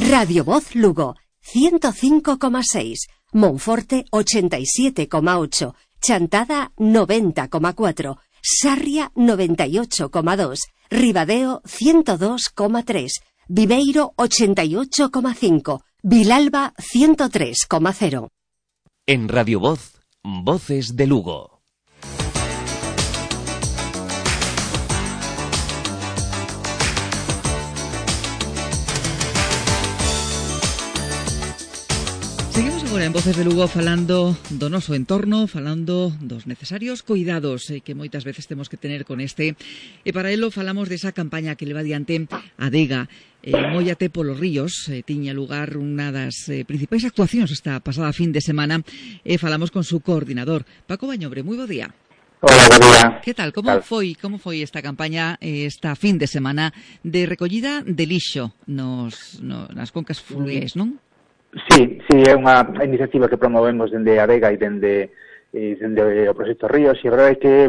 Radio Voz Lugo, 105,6, Monforte 87,8, Chantada 90,4, Sarria 98,2, Ribadeo 102,3, Viveiro 88,5, Vilalba 103,0. En Radio Voz, Voces de Lugo. Seguimos agora en Voces de Lugo falando do noso entorno, falando dos necesarios cuidados que moitas veces temos que tener con este. E para ello falamos desa campaña que leva adiante Adega. Móllate polos ríos, tiña lugar unha das principais actuacións esta pasada fin de semana. Falamos con su coordinador, Paco Bañobre. Moi bo día. Hola, bo día. Que tal? Como foi esta campaña esta fin de semana de recollida de lixo nas concas fluviais, non? Sí, é unha iniciativa que promovemos dende Adega e dende o Proxecto Ríos, e a verdade é que,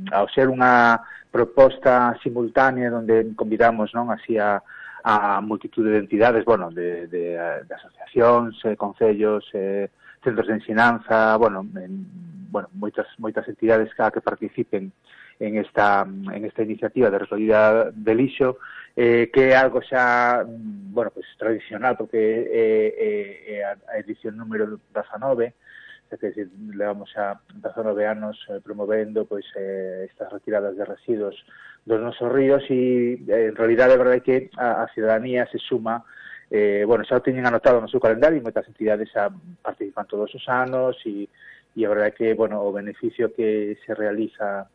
ao ser unha proposta simultánea onde convidamos así a multitude de entidades, de asociacións, concellos, centros de ensinanza, moitas entidades que participen en esta iniciativa de recollida de lixo, que é algo xa, tradicional, porque é a edición número 19, é dicir, levamos xa 19 anos promovendo estas retiradas de residuos dos nosos ríos, e en realidade a verdade é que a ciudadanía se suma, xa o teñen anotado no seu calendario, e moitas entidades xa participan todos os anos, e a verdade é que, o beneficio que se realiza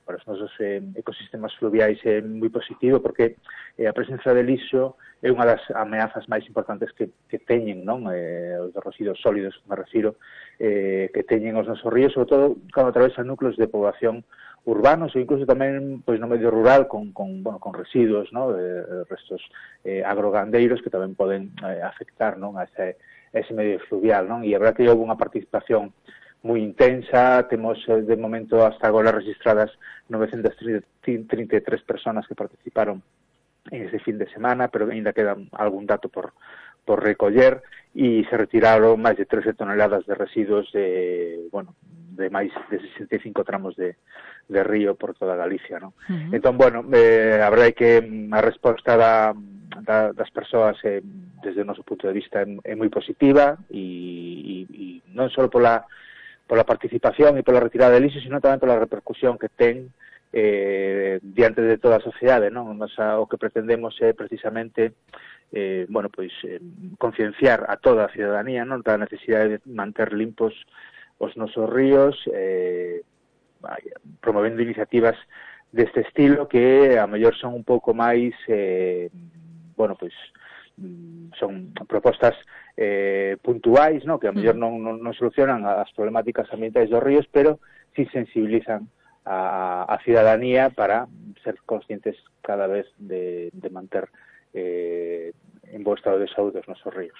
para os nosos ecosistemas fluviais é moi positivo, porque a presenza de lixo é unha das ameazas máis importantes que teñen, os residuos sólidos, me refiro, que teñen os nosos ríos, sobre todo cando atravesan núcleos de población urbanos, ou incluso tamén no medio rural con residuos, restos agrogandeiros que tamén poden afectar a ese medio fluvial, e a verdade que houve unha participación moi intensa. Temos de momento hasta agora registradas 933 personas que participaron en ese fin de semana, pero ainda queda algún dato por recoller, e se retiraron máis de 13 toneladas de residuos de máis de 65 tramos de río por toda Galicia, Entón, a verdade é que a resposta das persoas desde o noso punto de vista é moi positiva, e non só pola participación e pola retirada de lixo, sino tamén pola repercusión que ten diante de toda a sociedade, O que pretendemos é precisamente concienciar a toda a ciudadanía da necesidade de manter limpos os nosos ríos, promovendo iniciativas deste estilo que a mellor son un pouco máis son propostas puntuais, que a mellor non solucionan as problemáticas ambientais dos ríos, pero sí sensibilizan a ciudadanía para ser conscientes cada vez de manter en bo estado de saúde os nosos ríos.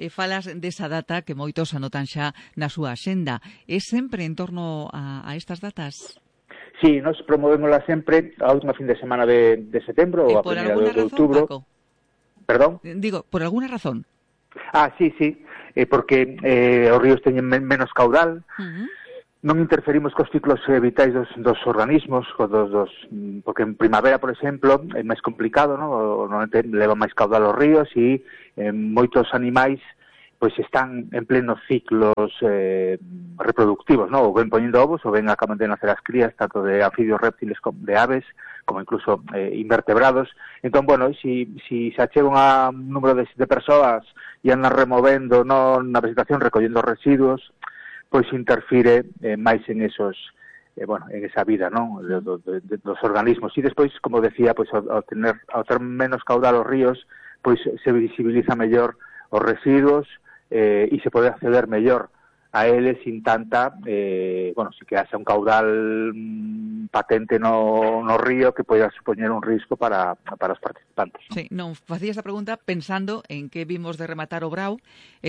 Falas desa data que moitos anotan xa na súa axenda. É sempre en torno a estas datas? Sí, nos promovémosla sempre a última fin de semana de setembro ou a primeira de outubro. Paco? Perdón? Digo, por alguna razón? Sí, porque os ríos teñen menos caudal, non interferimos cos ciclos vitais dos organismos, porque en primavera, por exemplo, é máis complicado, normalmente leva máis caudal os ríos, e moitos animais están en plenos ciclos reproductivos, ou ven poñendo ovos, ou ven acaban de nacer as crías, tanto de anfibios, reptiles, como de aves, como incluso invertebrados. Entón, si se achegan a un número de persoas e andan removendo na vegetación, recollendo residuos, interfire máis en esos en esa vida dos organismos. E despois, como decía, ao ter menos caudal os ríos, se visibiliza mellor os residuos, e se pode acceder mellor a eles sin tanta, bueno, si que haxa un caudal patente no río que poida supoñer un risco para os participantes. Sí, non, facía esta pregunta pensando en que vimos de rematar o Brau,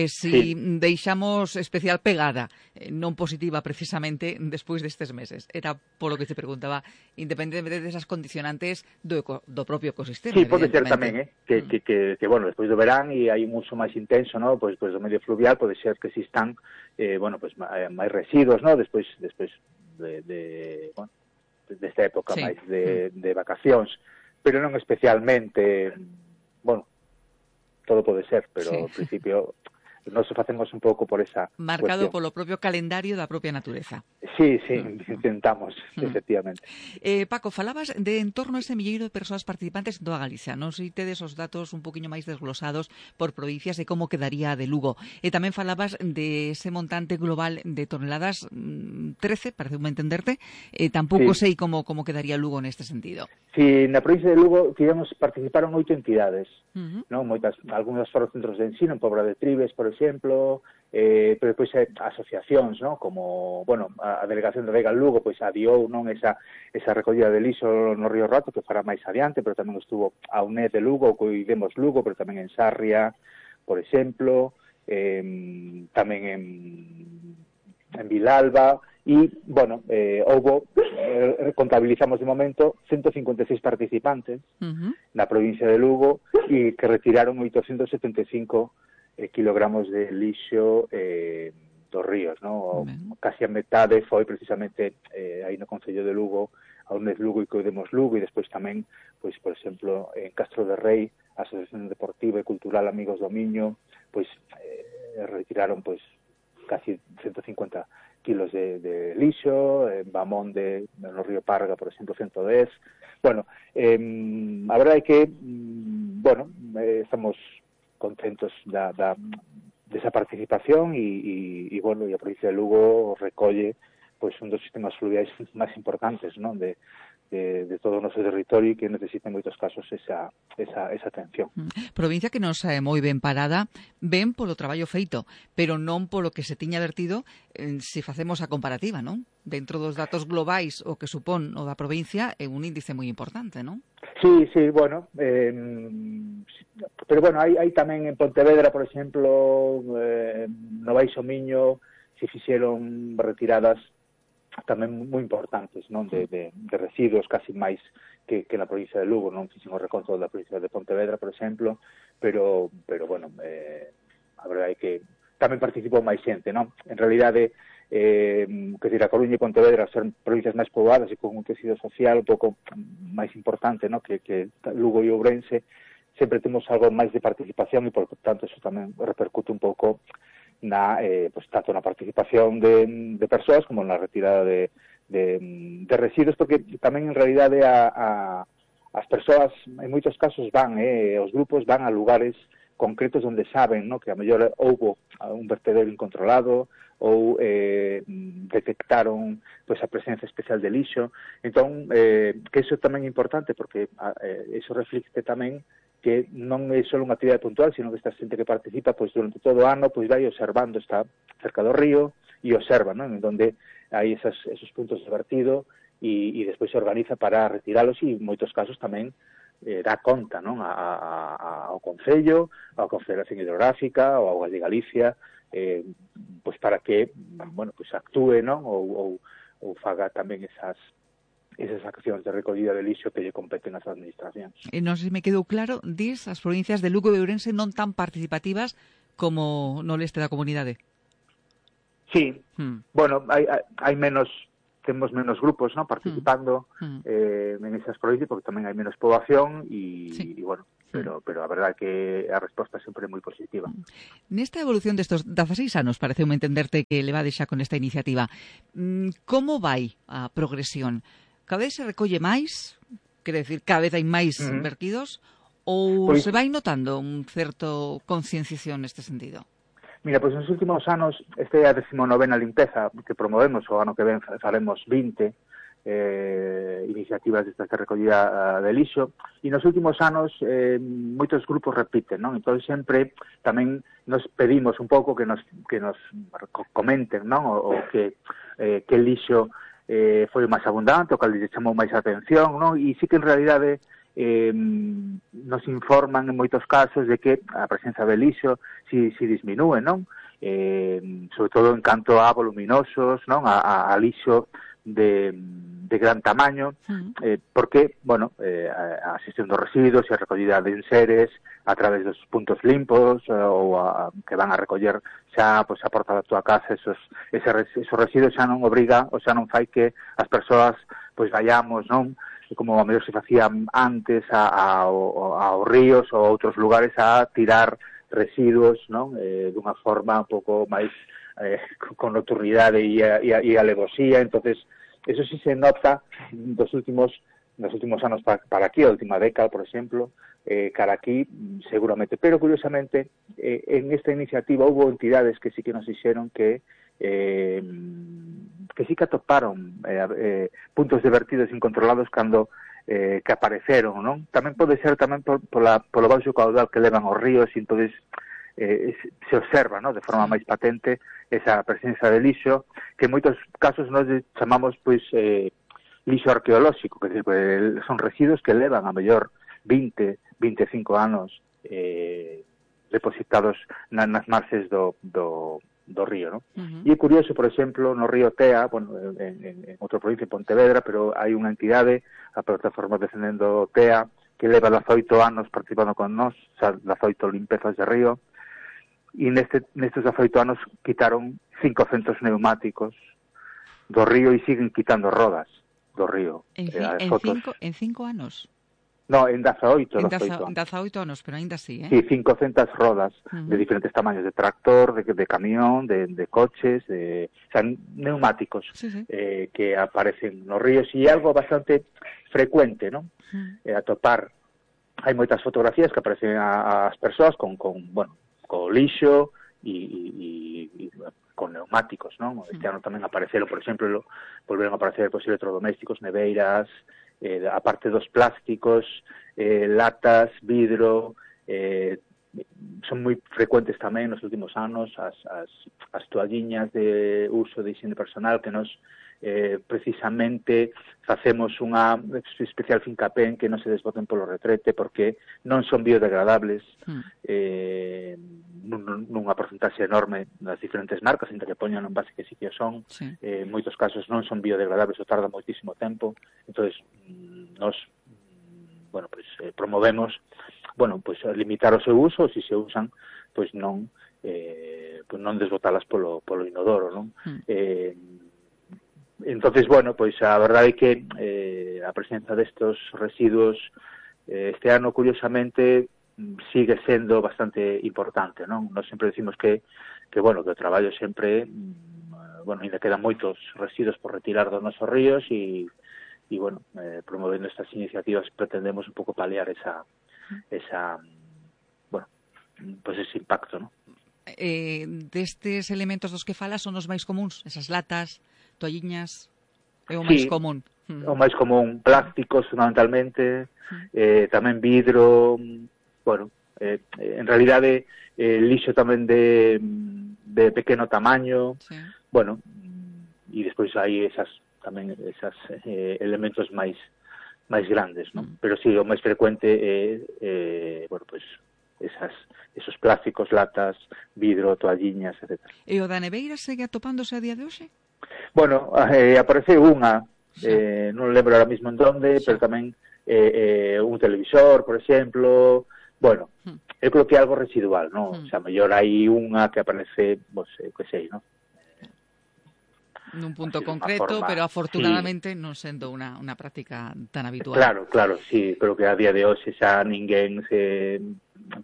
si deixamos especial pegada, non positiva precisamente despois destes meses. Era polo que te preguntaba, independentemente desas condicionantes do propio ecosistema. Sí, pode ser tamén, que bueno, despois do verán e hai un uso máis intenso, ¿no? Pois do medio fluvial pode ser que existan bueno, pues máis residuos, ¿no? Despois bueno, desta época máis de vacacións, pero non especialmente, bueno, todo pode ser, pero ao principio nós facemos un pouco por esa marcado cuestión. Polo propio calendario da propia natureza. Sí, intentamos, efectivamente. Paco, falabas de en torno a ese milleiro de persoas participantes en toda Galicia. Non sei tedes os datos un poquinho máis desglosados por provincias de como quedaría de Lugo. Tamén falabas de ese montante global de toneladas, 13, pareceume entenderte. Tampouco sei como quedaría Lugo neste sentido. Sí, na provincia de Lugo participaron 8 entidades, non? Algúnas foron centros de ensino, en Pobra de Tribes, por exemplo, pero depois asociacións, non? Como, bueno, a Delegación de Vega Lugo, pois adiou, non, esa recollida de lixo no Río Roto, que fará máis adiante, pero tamén estuvo a UNED de Lugo, Cuidemos Lugo, pero tamén en Sarria, por exemplo, tamén en Vilalba, e, bueno, contabilizamos de momento 156 participantes na provincia de Lugo e que retiraron 875 kilogramos de lixo dos ríos, ¿no? Casi a metade foi precisamente aí no Concello de Lugo, a UNED Lugo e Cuidemos Lugo, e despois tamén, pois, por exemplo, en Castro de Rei, a Asociación Deportiva e Cultural Amigos do Miño, pois retiraron pois casi 150 kilos de lixo, en Bamón no río Parga, por exemplo, 110. Bueno, a verdade é que, bueno, estamos contentos desa participación e bueno, e a provincia de Lugo recolle pois un dos sistemas fluviais máis importantes, non, de todo o noso territorio e que necesita en moitos casos esa atención. Provincia que nos moi ben parada, ben polo traballo feito, pero non polo que se tiña vertido se facemos a comparativa, non? Dentro dos datos globais o que supón o da provincia é un índice moi importante, non? Sí, bueno, pero bueno, hai tamén en Pontevedra, por exemplo, no Baixo Miño, se fixeron retiradas tamén moi importantes, non, de residuos casi máis que na provincia de Lugo. Non fixen o reconto da provincia de Pontevedra, por exemplo, pero bueno, a verdade é que tamén participou máis xente, non? En realidade, que a Coruña e Pontevedra son provincias máis poboadas e con un tecido social un pouco máis importante, non, que Lugo e Ourense, sempre temos algo máis de participación e, por tanto, eso tamén repercute un pouco pues, tanto na participación de persoas como na retirada de residuos, porque tamén en realidade as persoas en moitos casos os grupos van a lugares concretos onde saben, ¿no?, que a mellor houbo un vertedero incontrolado ou detectaron pues, a presencia especial de lixo. Entón, que iso tamén é importante, porque iso reflicte tamén que non é só unha actividade puntual, sino que esta xente que participa pois durante todo o ano pois vai observando, está cerca do río e observa, non, en donde hai esos puntos de vertido e despois se organiza para retiralos e en moitos casos tamén dá conta, non, ao Concello, á Confederación Hidrográfica, ao Augas de Galicia, pois para que, bueno, pois actúe, non, ou faga tamén esas accións de recollida de lixo que lle competen ás administracións. Non sei se me quedou claro, dis as provincias de Lugo e Ourense non tan participativas como no leste da comunidade. Sí, bueno, hai menos, temos menos grupos, ¿no?, participando en esas provincias, porque tamén hai menos poboación e bueno, pero a verdade é que a resposta sempre é moi positiva. Nesta evolución destos 16 anos, pareceume entenderte que levades xa con esta iniciativa, como vai a progresión? Cada vez se recolle máis? Quere decir, cada vez hai máis vertidos? Ou se vai notando un certo concienciación neste sentido? Mira, pois nos últimos anos, esta é a 19ª limpeza que promovemos, o ano que ven faremos 20, iniciativas destas de recollida de lixo, e nos últimos anos moitos grupos repiten, non? Entón sempre tamén nos pedimos un pouco que nos comenten, non? O que lixo foi máis abundante, o que lles chamou máis a atención, non? E sí que en realidade nos informan en moitos casos de que a presenza de lixo si disminúe, non? Sobre todo en canto a voluminosos, non? A lixo de gran tamaño, porque, bueno, a xestión dos residuos e a recollida de enseres a través dos puntos limpos ou que van a recoller xa pois, a porta da tua casa esos residuos xa non obriga ou xa non fai que as persoas pois vayamos, non? Como a mellor se facía antes aos ríos ou a outros lugares a tirar residuos, non? Dunha forma un pouco máis con nocturnidade e alevosía. Entonces eso sí se nota nos últimos anos para aquí, a última década, por exemplo, cara aquí, seguramente. Pero, curiosamente, en esta iniciativa hubo entidades que sí que nos dixeron que sí que atoparon puntos de vertidos incontrolados cando que apareceron, non? Tamén pode ser tamén polo baixo caudal que levan os ríos, e entonces se observa, non? De forma máis patente esa presencia de lixo, que en moitos casos nós chamamos pois lixo arqueolóxico, que son residuos que levan a mellor 20-25 anos depositados nas marxes do río, ¿no? E é curioso, por exemplo, no río Tea, bueno, en outra provincia, en Pontevedra, pero hai unha entidade, a plataforma Defendendo Tea, que leva 18 anos participando con nós, xa 18 limpezas de río, e nestes 18 anos quitaron 500 neumáticos do río e siguen quitando rodas do río. En 5 anos? No, en 18 anos, pero ainda así, Sí, 500 rodas de diferentes tamaños, de tractor, de camión, de coches, o sea, neumáticos que aparecen nos ríos, e algo bastante frecuente, ¿no? Atopar. Hai moitas fotografías que aparecen as persoas con lixo e con neumáticos, ¿no? Este ano tamén apareceron, por exemplo, volveron a aparecer electrodomésticos, neveiras, aparte dos plásticos, latas, vidro, son moi frecuentes tamén nos últimos anos as toalliñas de uso de higiene personal, que nos precisamente facemos unha especial fincapé en que non se desboten polo retrete, porque non son biodegradables nunha porcentaxe enorme das diferentes marcas, entre que poñan en base que sí que son, en moitos casos non son biodegradables ou tarda moitísimo tempo. Entonces nos promovemos limitar o seu uso, se usan, pois non desbotalas polo inodoro, non? Entonces, a verdade é que a presenza destos residuos este ano, curiosamente, sigue sendo bastante importante, non? Nós sempre decimos que o traballo sempre, ainda quedan moitos residuos por retirar dos nosos ríos e promovendo estas iniciativas pretendemos un pouco paliar ese impacto, non? Destes elementos dos que falas son os máis comuns, esas latas, toalliñas, é o máis común. O máis común, plásticos fundamentalmente, tamén vidro, en realidade lixo tamén de pequeno tamaño, e despois hai esas elementos máis grandes, non? Pero sí, o máis frecuente é esos plásticos, latas, vidro, toalliñas, etc. E o da neveira segue atopándose a día de hoxe? Apareceu unha, non lembro ahora mismo en donde, pero tamén un televisor, por exemplo. Eu creo que é algo residual, non? O sea, mellor hai unha que aparece, que sei, non? Nun punto concreto, pero afortunadamente non sendo unha práctica tan habitual. Claro, sí, creo que a día de hoxe xa ninguén se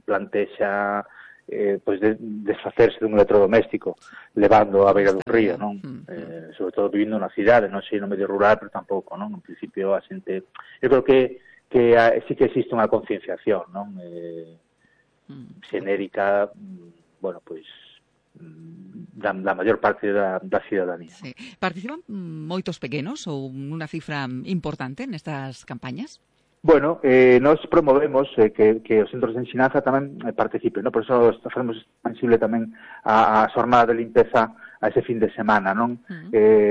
plantexa desfacerse dun electrodoméstico levando a beira do río, non? Sobre todo vivindo na cidade, non sei no medio rural, pero tampouco, non? En principio a xente, eu creo que sí que existe unha concienciación, non? Xenérica, da maior parte da cidadanía. Sí. Participan moitos pequenos ou unha cifra importante nestas campañas? Bueno, nós promovemos que os centros de ensinanza tamén participen, ¿no? Por eso facemos extensible tamén a xornada de limpeza a ese fin de semana, non?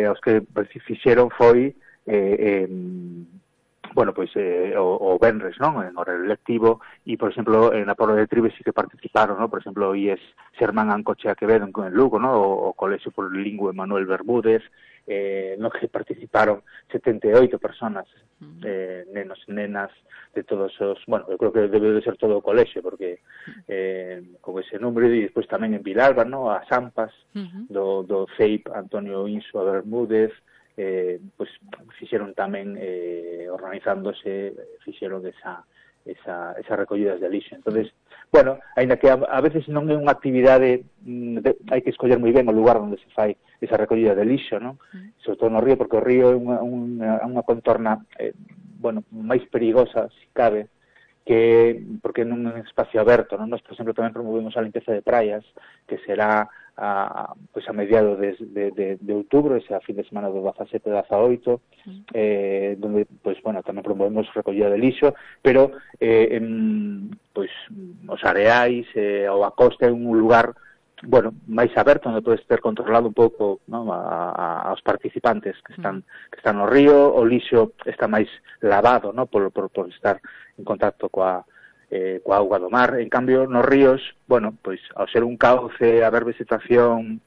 Os que fixeron foi bueno, pois o venres, non? En horario lectivo e, por exemplo, na Pobra de Trives sí que participaron, non? Por exemplo, o IES Xermán Ancochea Quevedo en Lugo, non? O Colexio Polilingüe Manuel Bermúdez, no que participaron 78 personas, nenos e nenas de todos os... Bueno, eu creo que debe de ser todo o colexio, porque con ese número, e despois tamén en Vilalba, non? As AMPAs do CEIP Antonio Insua Bermúdez, pues fixeron tamén organizándose, fixeron esa recollidas de lixo. Entonces, bueno, aínda que a veces non é unha actividade, hai que escoller moi ben o lugar onde se fai esa recollida de lixo, non? Sobre todo no río, porque o río é unha contorna bueno, máis perigosa, se cabe, que porque non é un espacio aberto, non? Nós, por exemplo, tamén promovemos a limpeza de praias, que será pues a mediados de outubro, ese fin de semana do 17 e 18, donde, pues, bueno, tamén promovemos recollida de lixo, pero pues os areais ou a costa é un lugar, bueno, máis aberto, onde podes ter controlado un pouco, ¿no? aos participantes que están no río. O lixo está máis lavado, ¿no? por estar en contacto coa auga do mar. En cambio, nos ríos, bueno, pois ao ser un cauce, haber vegetación,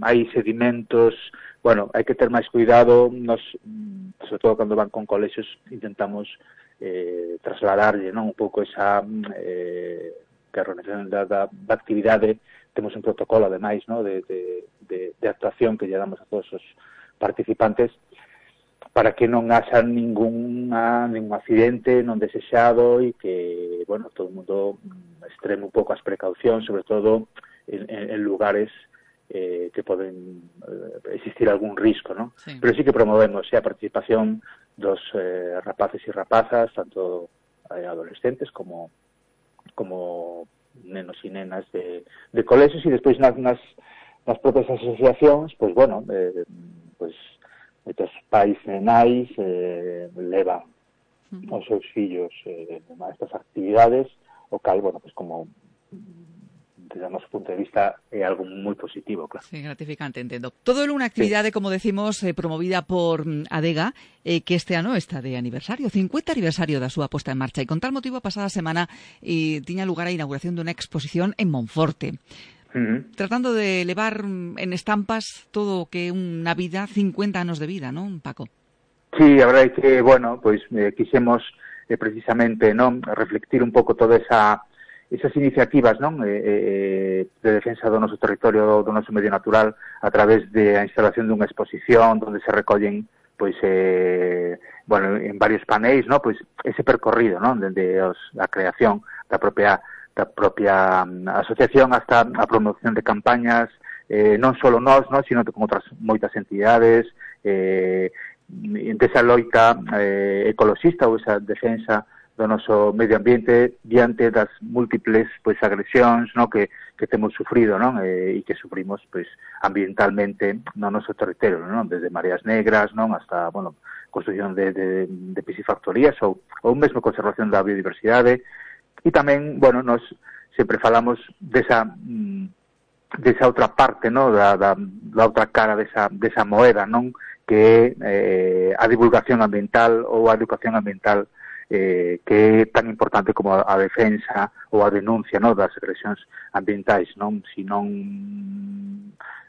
hai sedimentos, bueno, hai que ter máis cuidado. Nos, sobre todo cando van con colexios, intentamos trasladarlle, non, un pouco esa que a organización da actividade. Temos un protocolo, ademais, ¿no? de actuación que lle damos a todos os participantes, para que non haxa ningún accidente non desexado e que, bueno, todo o mundo extreme un pouco as precaucións, sobre todo en lugares que poden existir algún risco, ¿no? Sí. Pero sí que promovemos a participación dos rapaces e rapazas, tanto adolescentes como nenos e nenas de colexios, e despois nas propias asociacións, pues bueno, pues moitos pais e nais levan os seus fillos a estas actividades, o cal, bueno, pues como desde o noso punto de vista é algo moi positivo, claro. Sí, gratificante, entendo. Todo é unha actividade, sí, como decimos, promovida por Adega, que este ano está de aniversario, 50 aniversario da súa posta en marcha, e con tal motivo a pasada semana tiña lugar a inauguración dunha exposición en Monforte. Tratando de levar en estampas todo o que é unha vida, 50 anos de vida, non, Paco? Sí, a verdade é que, bueno, pois quixemos precisamente, non, reflectir un pouco toda esas iniciativas, non, de defensa do noso territorio, do noso medio natural, a través da instalación dunha exposición onde se recollen, pois, bueno, en varios panéis, non, pois ese percorrido, non, dende a creación da propia asociación hasta a promoción de campañas, non só nós, non, sino con outras moitas entidades, desa loita ecoloxista ou esa defensa do noso medio ambiente diante das múltiples, pois, agresións, non, que temos sufrido, non, e que sufrimos, pois, ambientalmente no noso territorio, non, desde mareas negras, non, hasta, bueno, construción de piscifactorías ou mesmo conservación da biodiversidade. E tamén, bueno, nos sempre falamos desa outra parte, non, da outra cara desa moeda, non, que é a divulgación ambiental ou a educación ambiental, que é tan importante como a defensa ou a denuncia, non, das agresións ambientais, non? Se non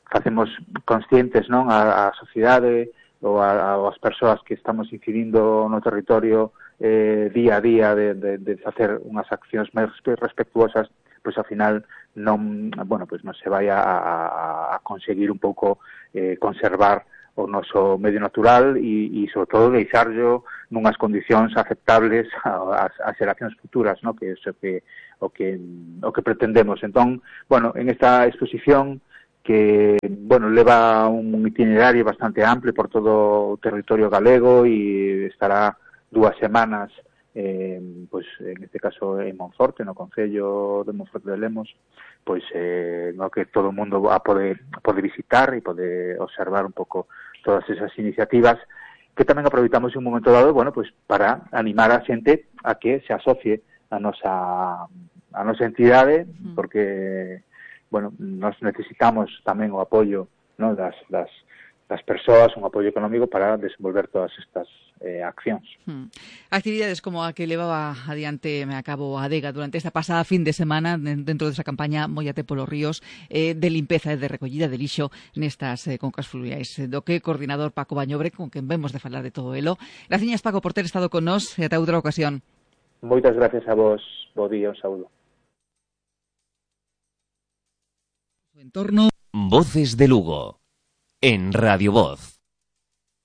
facemos conscientes, non, a sociedade ou as persoas que estamos incidindo no territorio día a día de facer unhas accións máis respetuosas, pois ao final non, bueno, pois non se vai a conseguir un pouco conservar o noso medio natural e sobre todo deixarlo nunhas condicións aceptables ás xeracións futuras, ¿no? Que é o que pretendemos. Entón, bueno, en esta exposición que, bueno, leva un itinerario bastante amplio por todo o territorio galego e estará 2 semanas pois en este caso en Monforte, no concello de Monforte de Lemos, pois no que todo o mundo pode visitar e pode observar un pouco todas esas iniciativas que tamén aproveitamos en un momento dado, bueno, pois para animar a xente a que se asocie a nosa entidade, porque bueno, nós necesitamos tamén o apoio, ¿no?, das persoas, un apoio económico para desenvolver todas estas accións. Actividades como a que levaba adiante a cabo a Adega durante esta pasada fin de semana dentro desa campaña Móllate polos ríos de limpeza e de recollida de lixo nestas concas fluviais. Do que coordinador Paco Bañobre, con quen vemos de falar de todo elo. Graciñas, Paco, por ter estado con nós e ata outra ocasión. Moitas gracias a vos. Bo día, un saúdo. Entorno. Voces de Lugo en Radio Voz.